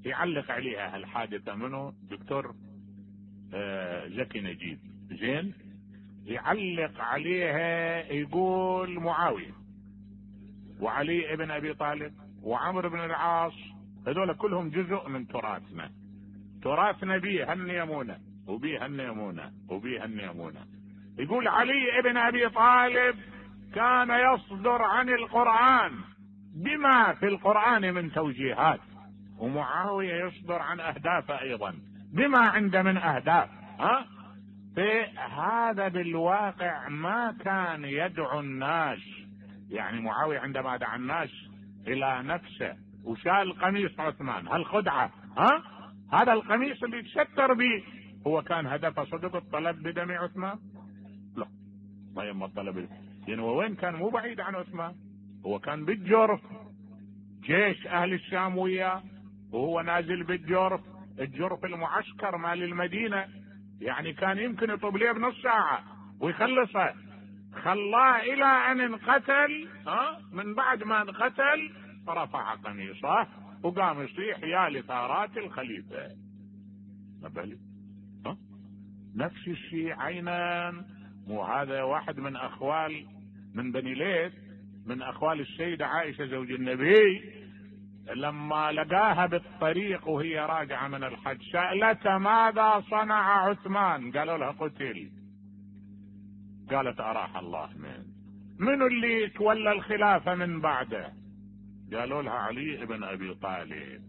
يعلق عليها هالحادثة منه دكتور زكي نجيب، زين، يعلق عليها يقول معاوية وعلي ابن ابي طالب وعمرو بن العاص هذول كلهم جزء من تراثنا، تراثنا بيه هالنيمونة وبيه هالنيمونة وبيه هالنيمونة. يقول علي ابن ابي طالب كان يصدر عن القرآن بما في القرآن من توجيهات، ومعاوية يصدر عن اهدافه ايضا بما عنده من اهداف. فهذا بالواقع ما كان يدعو الناس، يعني معاوية عندما دعا الناس الى نفسه وشال قميص عثمان هالخدعة، هذا القميص اللي يتستر به، هو كان هدفه صدق الطلب بدم عثمان؟ لا، ما يما الطلب، يعني وين كان؟ مو بعيد عن عثمان، هو كان بالجرف، جيش اهل الشام وياه وهو نازل بالجرف، الجرف المعسكر مال المدينة، يعني كان يمكن يطب ليه بنص ساعة ويخلصها، خلاه الى ان انقتل. من بعد ما انقتل رفع قميصه وقام يصيح يا لثارات الخليفة. نبالي نفس الشيء عينا. مو هذا واحد من اخوال من بني ليث، من اخوال السيدة عائشة زوج النبي، لما لقاها بالطريق وهي راجعة من الحج سألتها ماذا صنع عثمان؟ قالوا لها قتل. قالت أراح الله من اللي تولى الخلافة من بعده؟ قالوا لها علي بن أبي طالب.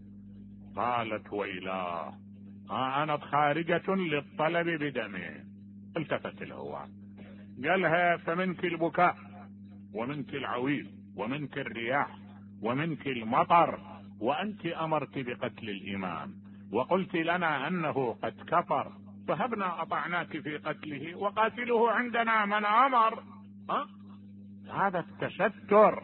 قالت ويلاه أنا خارجة للطلب بدمه. التفت له قالها فمنك البكاء ومنك العويل ومنك الرياح ومنك المطر، وأنت أمرت بقتل الإمام وقلت لنا أنه قد كفر، فهبنا أطعناك في قتله وقاتله عندنا من أمر. هذا التستر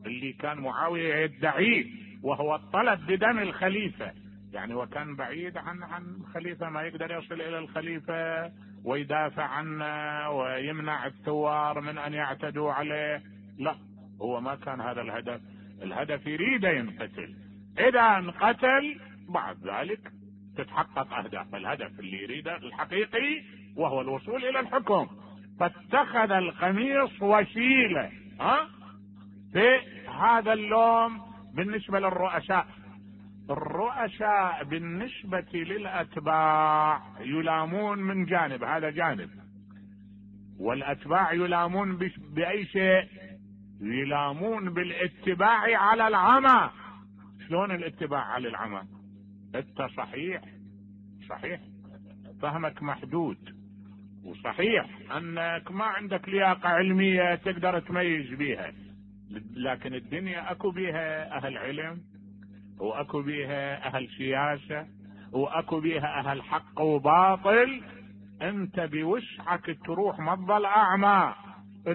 اللي كان معاوية يدعيه، وهو الطلب بدم الخليفة، يعني وكان بعيد عن الخليفة، ما يقدر يصل إلى الخليفة ويدافع عنه ويمنع الثوار من أن يعتدوا عليه. لا، هو ما كان هذا الهدف، الهدف يريد ينقتل، إذا انقتل بعد ذلك تتحقق أهداف الهدف اللي يريده الحقيقي، وهو الوصول إلى الحكم. فاتخذ القميص وسيلة. في هذا اللوم بالنسبة للرؤساء. الرؤساء بالنسبة للأتباع يلامون من جانب، هذا جانب، والأتباع يلامون بأي شيء؟ يلامون بالاتباع على العمى. شلون الاتباع على العمى؟ انت صحيح فهمك محدود، وصحيح انك ما عندك لياقة علمية تقدر تميز بيها، لكن الدنيا اكو بيها اهل علم، واكو بيها اهل سياسة، واكو بيها اهل حق وباطل. انت بوسعك تروح ما تظل اعمى،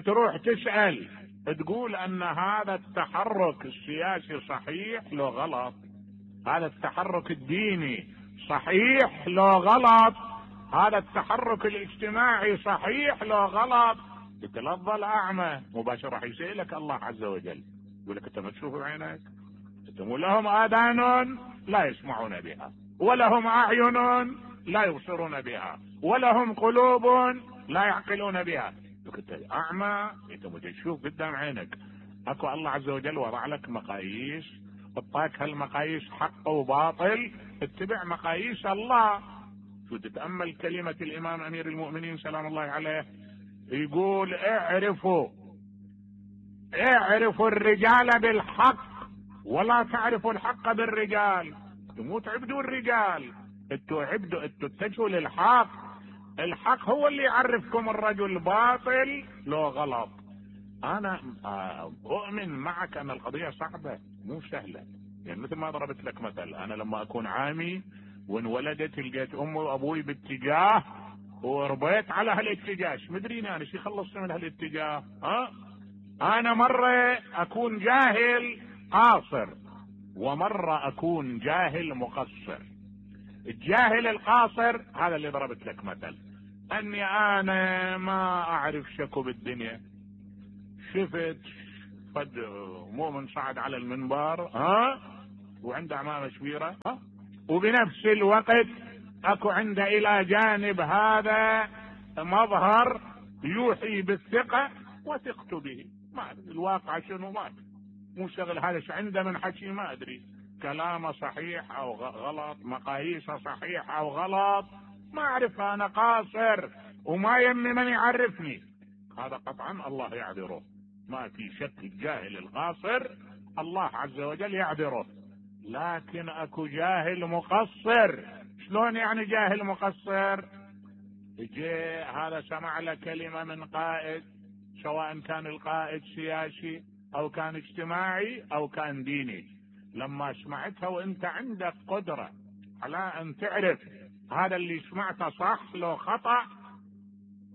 تروح تسأل، تقول ان هذا التحرك السياسي صحيح لو غلط، هذا التحرك الديني صحيح لو غلط، هذا التحرك الاجتماعي صحيح لو غلط. انت لا تظل اعمى، مباشرة راح يسألك الله عز وجل، يقول لك انت ما تشوف بعينك؟ انتم لهم اذان لا يسمعون بها، ولهم اعين لا يبصرون بها، ولهم قلوب لا يعقلون بها. انت اعمى، انت ما تشوف قدام عينك. اكو الله عز وجل وضع لك مقاييس، اعطاك هالمقاييس حق وباطل، اتبع مقاييس الله. شو تتأمل كلمة الامام امير المؤمنين سلام الله عليه، يقول اعرفوا الرجال بالحق ولا تعرفوا الحق بالرجال. مو تعبدوا الرجال، انتوا اتجهوا للحق. الحق هو اللي يعرفكم الرجل باطل لو غلط. انا اؤمن معك ان القضية صعبة مو سهلة، يعني مثل ما ضربت لك مثل، انا لما اكون عامي وانولدت لقيت امي وابوي باتجاه وربيت على هالاتجاه، مدريني انا شي خلصت من هالاتجاه. انا مرة اكون جاهل قاصر ومرة اكون جاهل مقصر. الجاهل القاصر هذا اللي ضربت لك مثل، اني انا ما اعرف شكو بالدنيا، شفت فد مؤمن صعد على المنبر وعنده عمامة كبيرة وبنفس الوقت اكو عنده الى جانب هذا مظهر يوحي بالثقة وثقت به. ما أدري الواقع شنو، ما أدري، مو شغل هذا ايش عنده من حكي، ما ادري كلامه صحيح او غلط، مقاييسه صحيح او غلط، ما اعرف، انا قاصر وما يمي من يعرفني. هذا قطعا الله يعذره، ما في شك. الجاهل القاصر الله عز وجل يعذره. لكن اكو جاهل مقصر. شلون يعني جاهل مقصر؟ جاء هذا سمع له كلمة من قائد، سواء كان القائد سياسي او كان اجتماعي او كان ديني، لما سمعتها وانت عندك قدرة على ان تعرف هذا اللي سمعته صح لو خطأ،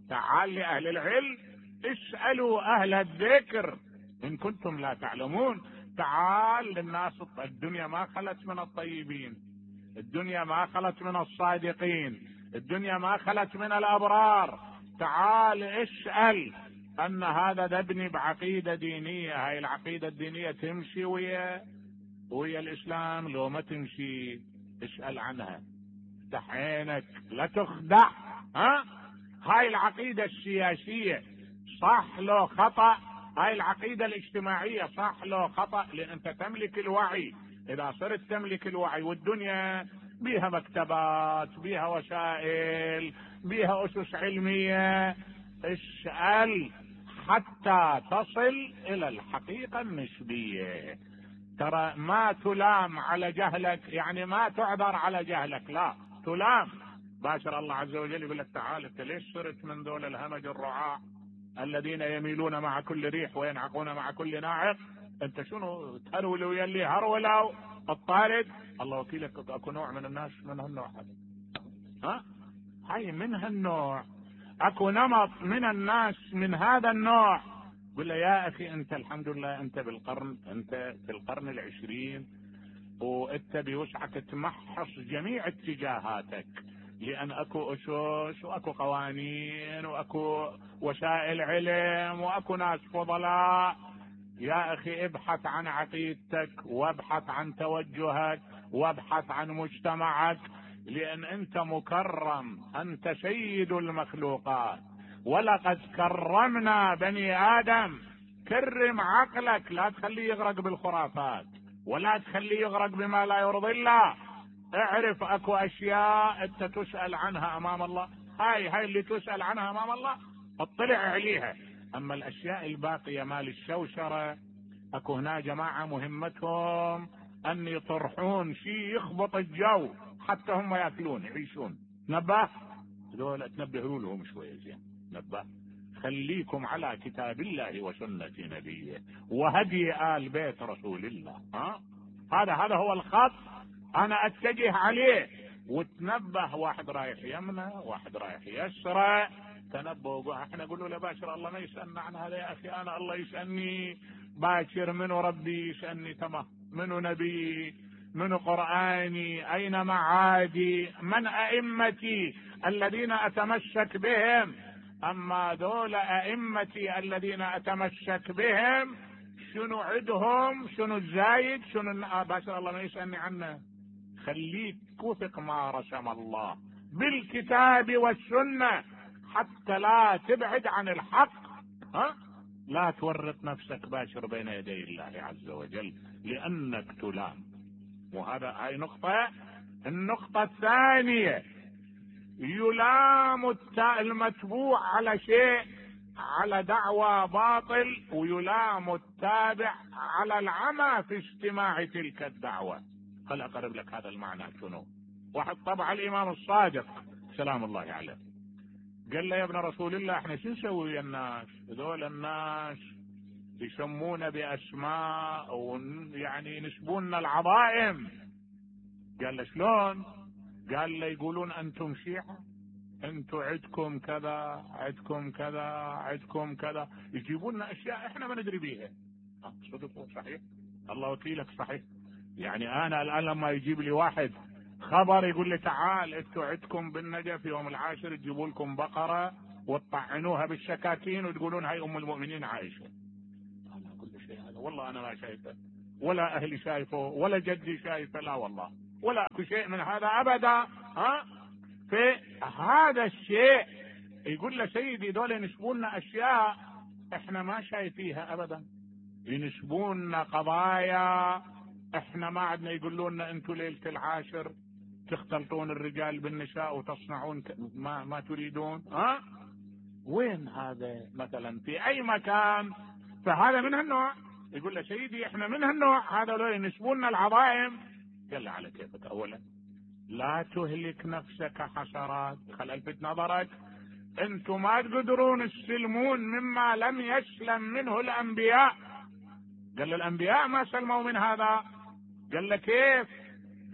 تعال لأهل العلم اسألوا أهل الذكر إن كنتم لا تعلمون. تعال للناس، الدنيا ما خلت من الطيبين، الدنيا ما خلت من الصادقين، الدنيا ما خلت من الأبرار. تعال اسأل أن هذا ابني بعقيدة دينية، هاي العقيدة الدينية تمشي ويا الإسلام لو ما تمشي؟ اسأل عنها، افتح عينك لا تخدع. هاي العقيدة السياسية صح لو خطأ، هاي العقيدة الاجتماعية صح لو خطأ، لأن أنت تملك الوعي. إذا صرت تملك الوعي، والدنيا بيها مكتبات، بيها وسائل، بيها أسس علمية، اسأل حتى تصل إلى الحقيقة النسبية. ترى ما تلام على جهلك، يعني ما تعذر على جهلك، لا تلام. باشر الله عز وجل يقول لك تعال انت ليش صرت من دول الهمج الرعاع الذين يميلون مع كل ريح وينعقون مع كل ناعق؟ انت شنو تهرول ويلي هرولوا الطارد؟ الله وكيلك اكو نوع من الناس من هالنوع هذا، هاي من هالنوع، اكو نمط من الناس من هذا النوع. قل له يا اخي انت الحمد لله انت انت في القرن العشرين، وانت بوسعك تمحص جميع اتجاهاتك، لان اكو اسس واكو قوانين واكو وسائل علم واكو ناس فضلاء. يا اخي ابحث عن عقيدتك، وابحث عن توجهك، وابحث عن مجتمعك، لان انت مكرم، انت سيد المخلوقات. ولقد كرمنا بني ادم. كرم عقلك، لا تخليه يغرق بالخرافات، ولا تخليه يغرق بما لا يرضي الله. اعرف اكو اشياء انت تسأل عنها امام الله، هاي اللي تسأل عنها امام الله اطلع عليها. اما الاشياء الباقية مال الشوشرة، اكو هنا جماعة مهمتهم ان يطرحون شيء يخبط الجو حتى هم ياكلون يعيشون. نبه دول تنبهوا لهم شوية زين، نبه خليكم على كتاب الله وسنة نبيه وهدي آل بيت رسول الله. هذا هو الخط انا اتجه عليه. وتنبه، واحد رايح يمنى واحد رايح يسرى، تنبهوا. احنا نقول له لا باشر الله ما يسألنا عن هذا يا اخي، انا الله يسألني باكر منو ربي يسألني، تمام، منو نبي، منو قرآني، اين معادي، من ائمتي الذين اتمسك بهم. اما دول ائمتي الذين اتمسك بهم شنو عدهم، شنو الزايد، شنو باشر الله ما يسألني عنه. خليك وثق ما رسم الله بالكتاب والسنة حتى لا تبعد عن الحق. لا تورط نفسك باشر بين يدي الله عز وجل لأنك تلام. هاي نقطة. النقطة الثانية، يلام المتبوع على شيء، على دعوى باطل، ويلام التابع على العمى في استماع تلك الدعوة. خل اقرب لك هذا المعنى شنو. واحد طبع الامام الصادق سلام الله عليه، قال له يا ابن رسول الله احنا شو نسوي ويا الناس هذول؟ الناس يسمونا باسماء ويعني ينسبون العظائم. قال له شلون؟ قال له يقولون انتم شيعة، انتم عدكم كذا عدكم كذا عدكم كذا، يجيبون لنا اشياء احنا ما ندري بيها. صدقوا صحيح، الله وكيلك صحيح. يعني انا الان لما يجيب لي واحد خبر يقول لي تعال انتوا عدكم بالنجف يوم العاشر تجيبوا لكم بقرة وتطعنوها بالشكاكين وتقولون هاي ام المؤمنين عائشة، انا اقول له شيء هذا والله انا ما شايفه، ولا اهلي شايفه، ولا جدي شايفه، لا والله ولا اكو شيء من هذا ابدا. في هذا الشيء يقول له سيدي دول ينسبوننا اشياء احنا ما شايفيها ابدا، ينسبوننا قضايا احنا ما عدنا، يقولون لنا انتم ليلة العاشر تختلطون الرجال بالنساء وتصنعون ما تريدون. وين هذا مثلا في اي مكان؟ فهذا من هالنوع. يقول له سيدي احنا من هالنوع، هذا لو ينسبوننا العظائم. قال له على كيفك، اولا لا تهلك نفسك حسرات، خل الفت نظرك، انتم ما تقدرون تسلمون مما لم يسلم منه الانبياء. قال له الانبياء ما سلموا من هذا. قال له كيف؟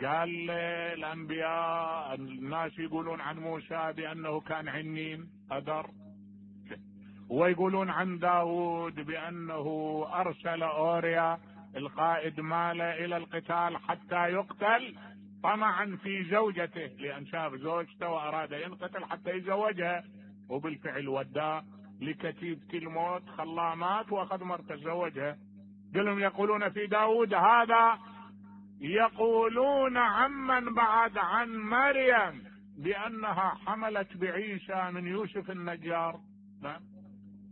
قال الانبياء الناس يقولون عن موسى بانه كان عنين قدر، ويقولون عن داود بانه ارسل اوريا القائد ماله الى القتال حتى يقتل طمعا في زوجته، لان شاف زوجته واراد ينقتل حتى يتزوجها، وبالفعل وداه لكتيبة الموت خلاه مات واخذ مرته تزوجها. قالوا يقولون في داود هذا، يقولون عمن بعد عن مريم بانها حملت بعيسى من يوسف النجار،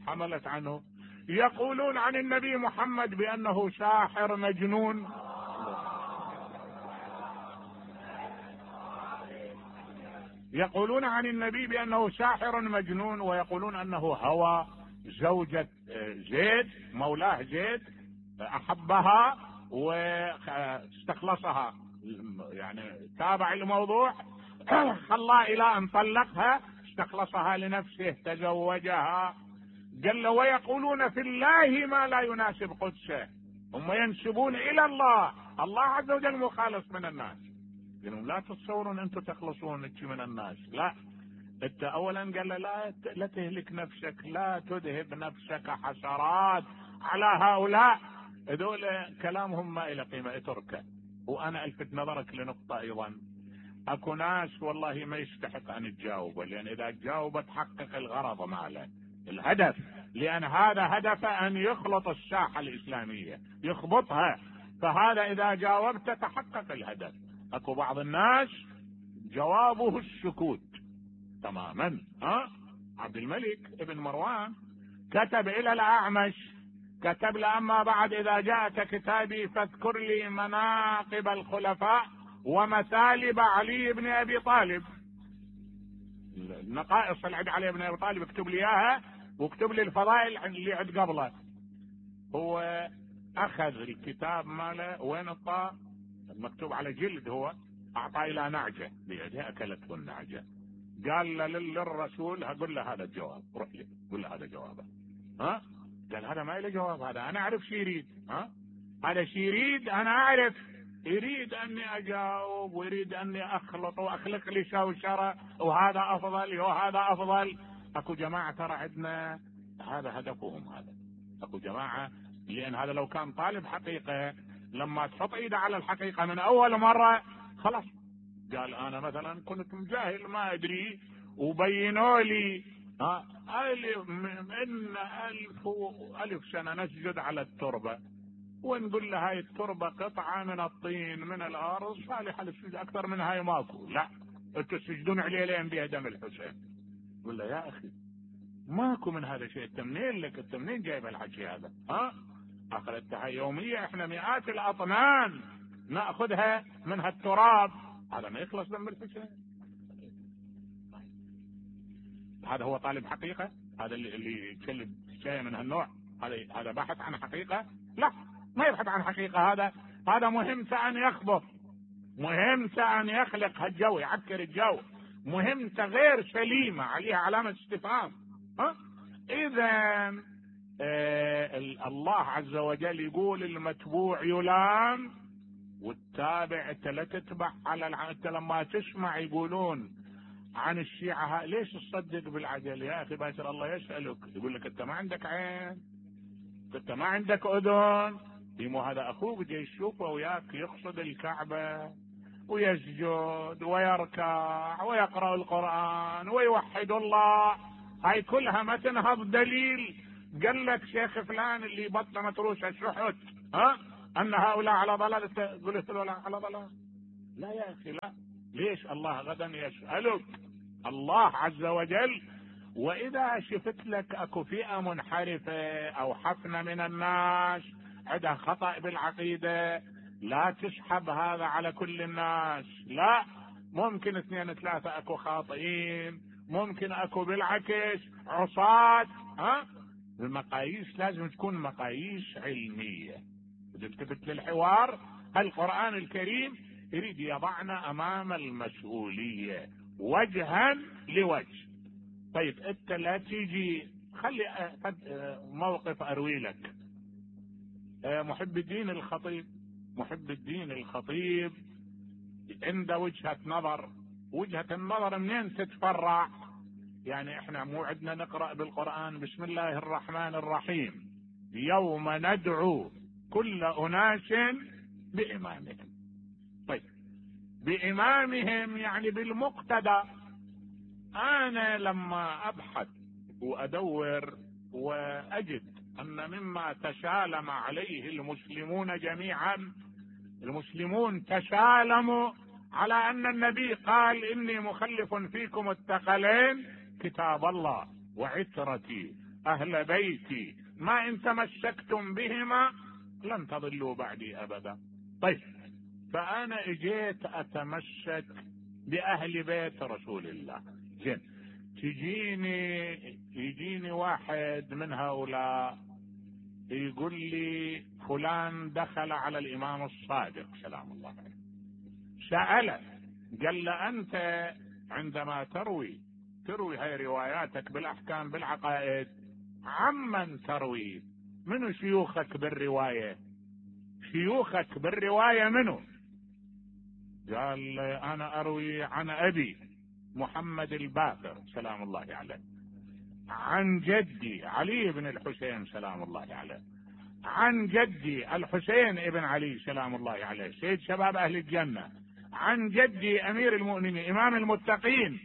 حملت عنه. يقولون عن النبي محمد بانه ساحر مجنون. يقولون عن النبي بانه ساحر مجنون، ويقولون انه هوى زوجة زيد مولاه زيد، احبها واستخلصها، يعني تابع الموضوع خلاه الى ان طلقها، استخلصها لنفسه تزوجها. قال له ويقولون في الله ما لا يناسب قدسه، هم ينسبون الى الله، الله عز وجل مخالص من الناس. قالوا لا تتصورون انتم تخلصون من الناس، لا انت اولا قال له لا تهلك نفسك، لا تذهب نفسك حسرات على هؤلاء، هذول كلامهم ما الى قيمه، اتركه. وانا الفت نظرك لنقطه ايضا، اكو ناس والله ما يستحق ان تجاوب، لان اذا تجاوب تحقق الغرض ماله الهدف، لان هذا هدف ان يخلط الساحه الاسلاميه يخبطها، فهذا اذا جاوبت تحقق الهدف. اكو بعض الناس جوابه السكوت تماما. عبد الملك ابن مروان كتب الى الاعمش، كتب له اما بعد اذا جاءك كتابي فاذكر لي مناقب الخلفاء ومثالب علي بن ابي طالب، النقائص اللي عند علي بن ابي طالب اكتب لي اياها، واكتب لي الفضائل اللي عند قبله. هو اخذ الكتاب ماله وين الطاء مكتوب على جلد، هو اعطاه الى نعجه بيدها اكلته النعجه، قال للرسول هقول له هذا الجواب، روح لي قول له هذا جوابه. قال هذا ما له جواب، هذا انا اعرف شي يريد، هذا شي يريد انا اعرف، يريد اني اجاوب ويريد اني اخلط واخلق لي شوشره، وهذا افضل وهذا افضل. اكو جماعه ترى عندنا هذا هدفهم، هذا اكو جماعه، لان هذا لو كان طالب حقيقه لما تحط ايده على الحقيقه من اول مره خلاص، قال انا مثلا كنت مجاهل ما ادري وبينوا لي من 1000 سنه نسجد على التربه ونقول له هاي التربه قطعه من الطين من الارض صالحه للسجود، اكثر من هاي ماكو، لا انتوا تسجدون عليه لين بها دم الحسين. يقول له يا اخي ماكو من هذا شيء، انت منين لك، انت منين جايب الحكي هذا؟ اخذتها يوميه، احنا مئات الاطنان ناخذها من هالتراب، هذا ما يخلص دم الحسين. هذا هو طالب حقيقه؟ هذا اللي يتكلم شيء من هالنوع، هذا بحث عن حقيقه؟ لا ما يبحث عن حقيقه، هذا مهمته ان يخبط، مهمته ان يخلق هالجو، يعكر الجو، مهمته غير سليمه، عليها علامه استفهام. اذا الله عز وجل يقول المتبوع يلام والتابع انت لا تتبع على انت لما تسمع يقولون عن الشيعة ليش تصدق بالعجل يا اخي باشر، الله يسألك يقول لك انت ما عندك عين، انت ما عندك اذن، مو هذا اخوك جاي يشوفه وياك يقصد الكعبة ويسجد ويركع ويقرأ القرآن ويوحد الله، هاي كلها ما تنهض دليل قال لك شيخ فلان اللي بطنه متروسه شحت ان هؤلاء على ضلال، قلت له لا على ضلال، لا يا اخي لا. ليش الله غدا يسألك الله عز وجل؟ واذا شفت لك اكو فئة منحرفة او حفنة من الناس عندها خطأ بالعقيدة، لا تسحب هذا على كل الناس، لا، ممكن 2 3 اكو خاطئين، ممكن اكو بالعكس عصاة. المقاييس لازم تكون مقاييس علمية. اذا التفت للحوار، القرآن الكريم يريد يضعنا امام المسؤولية وجها لوجه. طيب انت لا تيجي، خلي موقف اروي لك. محب الدين الخطيب عنده وجهة نظر. وجهة النظر منين تتفرع؟ يعني احنا مو عندنا نقرأ بالقرآن بسم الله الرحمن الرحيم يوم ندعو كل أناس بإمامهم. طيب بإمامهم يعني بالمقتدى. أنا لما أبحث وأدور وأجد أن مما تسالم عليه المسلمون جميعا، المسلمون تسالموا على أن النبي قال إني مخلف فيكم الثقلين كتاب الله وعترتي أهل بيتي ما إن تمسكتم بهما لن تضلوا بعدي أبدا. طيب فأنا اجيت أتمسك بأهل بيت رسول الله. زين، يجيني واحد من هؤلاء يقول لي فلان دخل على الإمام الصادق سلام الله عليه، سأله قال له أنت عندما تروي هاي رواياتك بالأحكام بالعقائد عمن تروي؟ منو شيوخك بالرواية؟ شيوخك بالرواية منو؟ قال أنا أروي عن أبي محمد الباقر سلام الله عليه، عن جدي علي بن الحسين سلام الله عليه، عن جدي الحسين ابن علي سلام الله عليه سيد شباب أهل الجنة، عن جدي أمير المؤمنين إمام المتقين.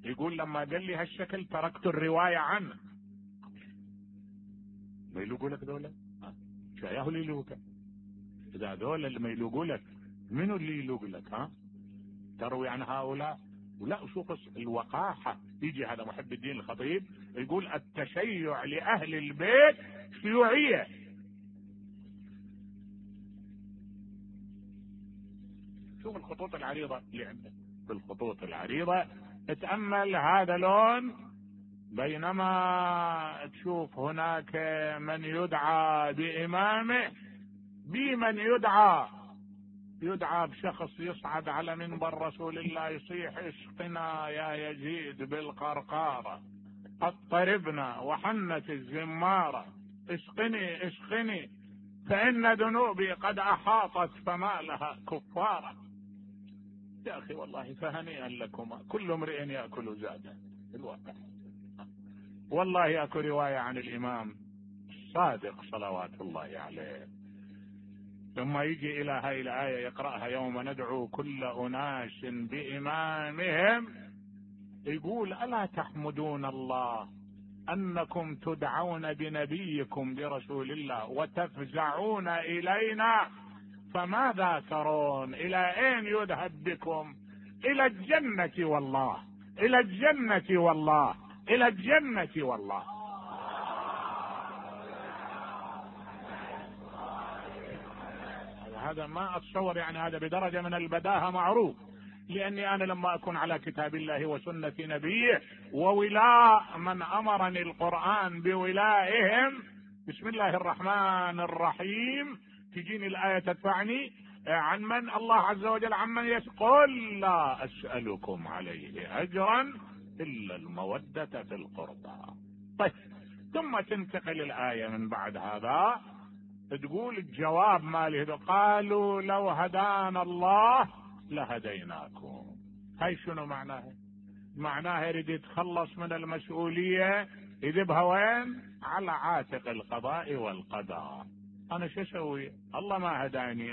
يقول لما قال لي هالشكل تركت الرواية عنه. ما يلوقوا لك دولة؟ شاياه اللي يلوقك؟ إذا دولة اللي ما يلوقوا لك منو اللي يلوق لك؟ تروي عن هؤلاء؟ ولا شوف الوقاحة. يجي هذا محب الدين الخطيب يقول التشيع لأهل البيت شيوعية. شوف الخطوط العريضة اللي عندك، بالخطوط العريضة اتأمل هذا لون. بينما تشوف هناك من يدعى بإمامه، بمن يدعى بشخص يصعد على منبر رسول الله يصيح اسقنا يا يزيد بالقرقارة، اضطربنا وحنت الزمارة، اسقني فإن ذنوبي قد أحاطت فما لها كفارة. يا أخي والله فهنيئا لكما، كل امرئ يأكل زاده الواقع. والله يأكل رواية عن الإمام الصادق صلوات الله عليه، ثم يجي إلى هاي الآية يقرأها يوم ندعو كل أناس بإمامهم، يقول ألا تحمدون الله أنكم تدعون بنبيكم برسول الله وتفزعون إلينا، فماذا ترون؟ إلى أين يذهب بكم؟ إلى الجنة والله، إلى الجنة والله، إلى الجنة والله. هذا ما أتصور، يعني هذا بدرجة من البداهة معروف، لأني أنا لما أكون على كتاب الله وسنة نبيه وولاء من أمرني القرآن بولائهم بسم الله الرحمن الرحيم، تجيني الآية تدفعني عن من الله عز وجل عمن يقول لا أسألكم عليه أجرا إلا المودة في القربى. طيب ثم تنتقل الآية من بعد هذا تقول الجواب ماله، قالوا لو هدانا الله لهديناكم. هاي شنو معناها؟ معناها يريد يتخلص من المسؤولية، يذبها وين؟ على عاتق القضاء والقدر. انا شو اسوي؟ الله ما هداني.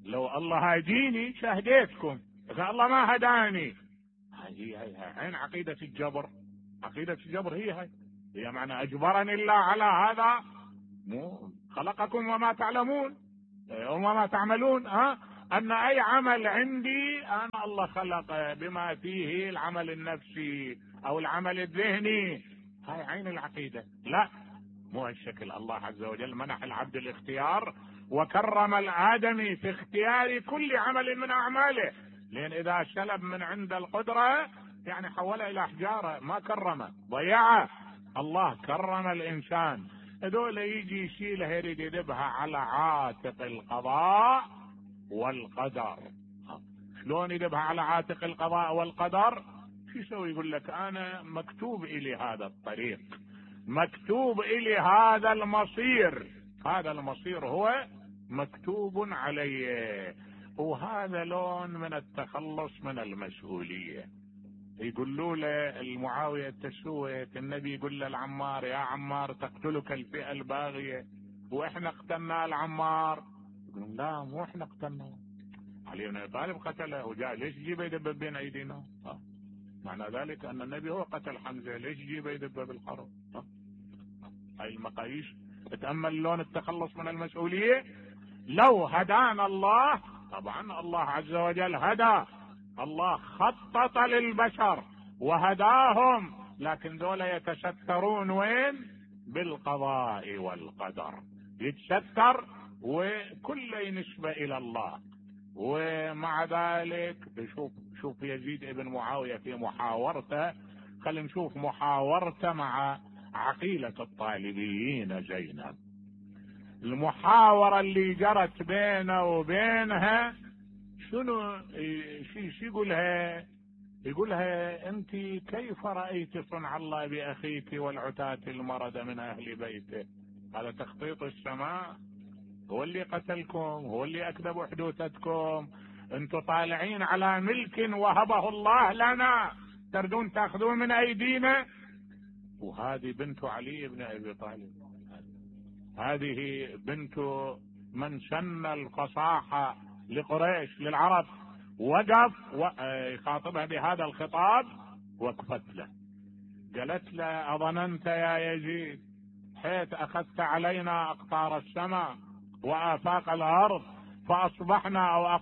لو الله هديني شهديتكم، اذا الله ما هداني. هاي عين عقيدة الجبر. عقيدة الجبر هي معنى اجبرني الله على هذا. مو خلقكم وما تعلمون وما تعملون. ان اي عمل عندي انا الله خلقه بما فيه العمل النفسي او العمل الذهني. هاي عين العقيدة. لا، مو هالشكل. الله عز وجل منح العبد الاختيار وكرم الآدمي في اختيار كل عمل من أعماله، لأن إذا سلب من عند القدرة يعني حوله إلى حجارة، ما كرمه، ضيعه. الله كرم الإنسان. هذول يجي يشيلها يريد يذبها على عاتق القضاء والقدر. شلون يذبها على عاتق القضاء والقدر؟ شو يسوي؟ يقول لك أنا مكتوب إلي هذا الطريق، مكتوب إلي هذا المصير، هذا المصير هو مكتوب علي. وهذا لون من التخلص من المسؤولية. يقولوا له المعاوية تسويت، النبي يقول له العمار يا عمار تقتلك الفئة الباغية، واحنا قتلنا العمار. يقولون لا، مو احنا قتلناه، علي بن ابي طالب قتله وجاء. ليش جيبه يدبب بين ايدينا؟ معنى ذلك ان النبي هو قتل حمزة، ليش جيبه يدبب بالحرب؟ هاي المقاييس. تأمل لون التخلص من المسؤولية. لو هدانا الله، طبعا الله عز وجل هدى، الله خطط للبشر وهداهم، لكن ذولا يتسترون وين؟ بالقضاء والقدر. يتستر وكل نسبة الى الله. ومع ذلك شوف يزيد ابن معاوية في محاورته. خلينا نشوف محاورته مع عقيلة الطالبيين زينب. المحاورة اللي جرت بينه وبينها شنو؟ شو يقولها؟ يقولها انت كيف رأيت صنع الله بأخيك والعتاة المرد من اهل بيته؟ هذا تخطيط السماء، هو اللي قتلكم، هو اللي اكذب حدوثتكم. انتم طالعين على ملك وهبه الله لنا، تردون تاخذون من ايدينا. وهذه بنت علي بن ابي طالب، هذه بنت من سن الفصاحة لقريش للعرب. وقف يخاطبها بهذا الخطاب، وقفت له قالت له أظننت يا يزيد حيث أخذت علينا أقطار السماء وآفاق الأرض فأصبحنا، أو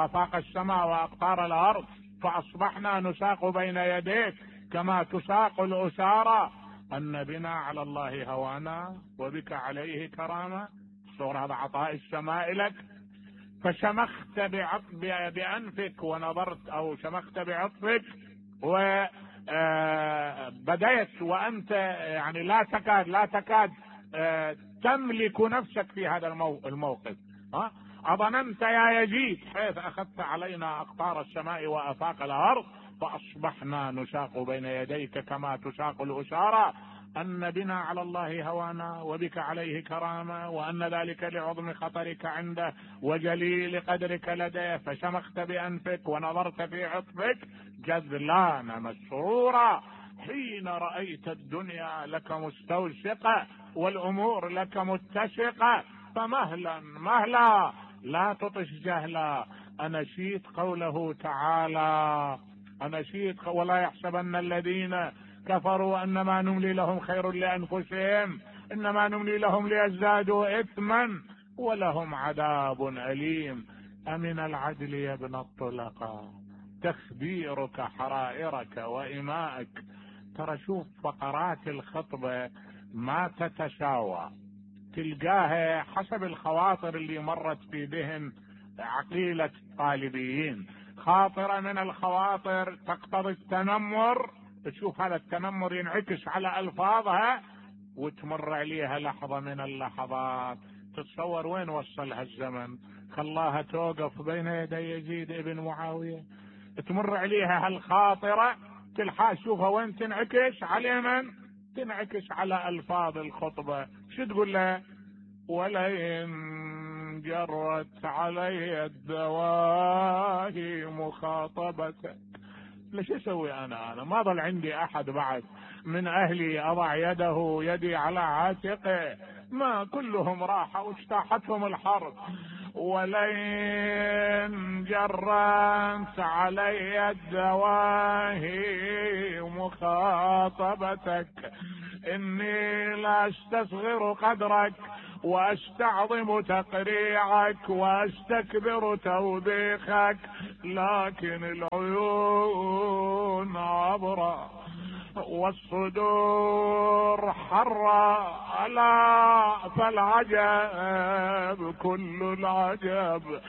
آفاق السماء وأقطار الأرض فأصبحنا نساق بين يديك كما تساق الأسارة، أن بنا على الله هوانا وبك عليه كرامة. صور هذا عطاء السماء لك. فشمخت بأنفك ونظرت، أو شمخت بعطفك وبديت وأنت يعني لا تكاد تملك نفسك في هذا الموقف. أظننت يا يزيد حيث أخذت علينا أقطار السماء وآفاق الأرض فأصبحنا نساق بين يديك كما تساق الأسارة، أن بنا على الله هوانا وبك عليه كرامة، وأن ذلك لعظم خطرك عنده وجليل قدرك لديه. فشمخت بأنفك ونظرت في عطفك جذلان مسرورا حين رأيت الدنيا لك مستوشقة والأمور لك متسقة. فمهلا مهلا لا تطش جهلا. أنشيت قوله تعالى، أنشيت ولا يحسبن الذين كفروا أنما نملي لهم خير لأنفسهم إنما نملي لهم ليزدادوا إثما ولهم عذاب أليم. أمن العدل يا ابن الطلقاء تخبيرك حرائرك وإمائك. ترى شوف فقرات الخطبة ما تتساوى، تلقاها حسب الخواطر اللي مرت في ذهن عقيلة الطالبيين. خاطرة من الخواطر تقتضي التنمر، تشوف هذا التنمر ينعكس على ألفاظها، وتمر عليها لحظة من اللحظات تتصور وين وصلها الزمن، خلاها توقف بين يدي يزيد ابن معاوية. تمر عليها هالخاطرة تلحق شوفها وين تنعكس على من؟ تنعكس على ألفاظ الخطبة. شو تقول لها؟ ولئن جرت علي الدواهي مخاطبتك. ليش اسوي انا ما ظل عندي احد بعد من اهلي اضع يدي على عاتقه، ما كلهم راحوا واجتاحتهم الحرب. ولئن جرت علي الدواهي مخاطبتك إني لا استصغر قدرك واستعظم تقريعك واستكبر توبيخك، لكن العيون عبرة والصدور حرة، ألا فالعجب كل العجب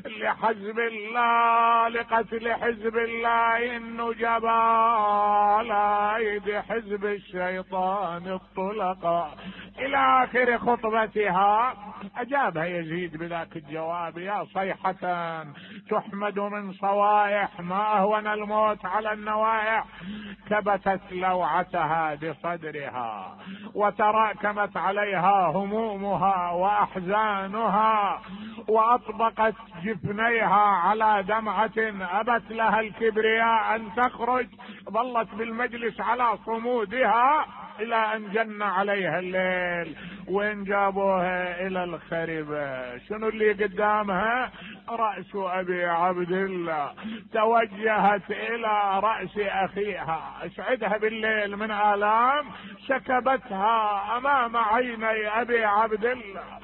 لحزب الله، لقتل حزب الله النجبا على ايدي حزب الشيطان الطلقاء. الى اخر خطبتها اجابها يزيد بذاك الجواب: يا صيحة تحمد من صوائح، ما اهون الموت على النوائح، كبتت لوعتها بصدرها وتراكمت عليها همومها واحزانها، واطبقت جفنيها على دمعة ابت لها الكبرياء ان تخرج، ظلت بالمجلس على صمودها الى ان جن عليها الليل. وين جابوها؟ الى الخربة. شنو اللي قدامها؟ رأس ابي عبد الله. توجهت الى رأس اخيها، اسعدها بالليل من آلام، سكبتها امام عيني ابي عبد الله.